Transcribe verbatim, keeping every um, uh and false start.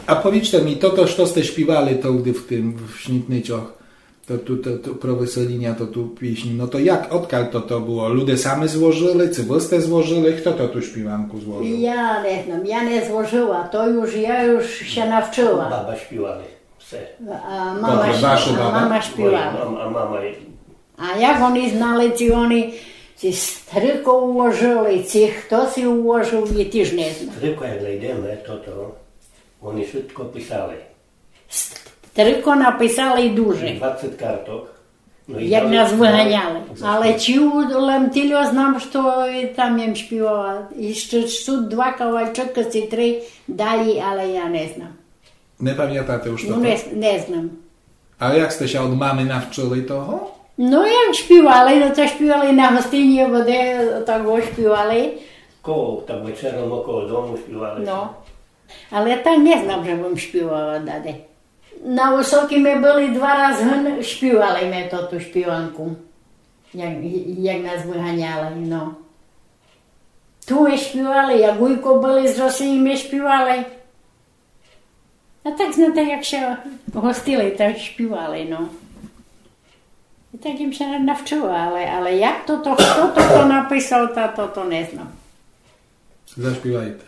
А повіджте мі, тото, што сте шпівали тогды в тым, в Снітничох, то ту, то, то про выселіня, то ту пісні, но то як, одкаль то, то было? Люде самы зложыли, ци вы сте зложыли? Хто то ту шпіванку зложыл? Я не знам, я не зложыла, то юж, я юж ся навчыла. Баба шпівали, все. А мама, Добре, ш-, ваша а баба? Мама шпівала. Мой, а мама А як они знали, ци они, ци стрыко уложыли, ци хто си уложыл, я тіж не знам. Стрыко, як найдеме, тото, они швидко писали. Стрыко написали дуже. Двадцет карток. Но і як дали, нас выганяли. Але чи у-, лем тільо знам, што там єм шпівала. Іщы сут два кавалчыкы, ци три далі, але я не знам. Не памятате уж тото? Но, не, не знам. А як сте ся од мамы навчыли того? Но, як шпівали, но то шпівали на гостині, бо де так го шпівали. Коло, так вечером около дому шпівали. Но. Але так не знам, же бым шпівала даде. На Высокій мы были два раз гын, шпівали мы тоту шпіванку. Як, як нас выганяли, но. Ту мы шпівали, як уйко были з Росії, мы шпівали. А так, знате, як ся гостили, так шпівали, но. І так єм ся навчыла, але, але як тото, хто тото написав, та тото не знам. Зашпівайте.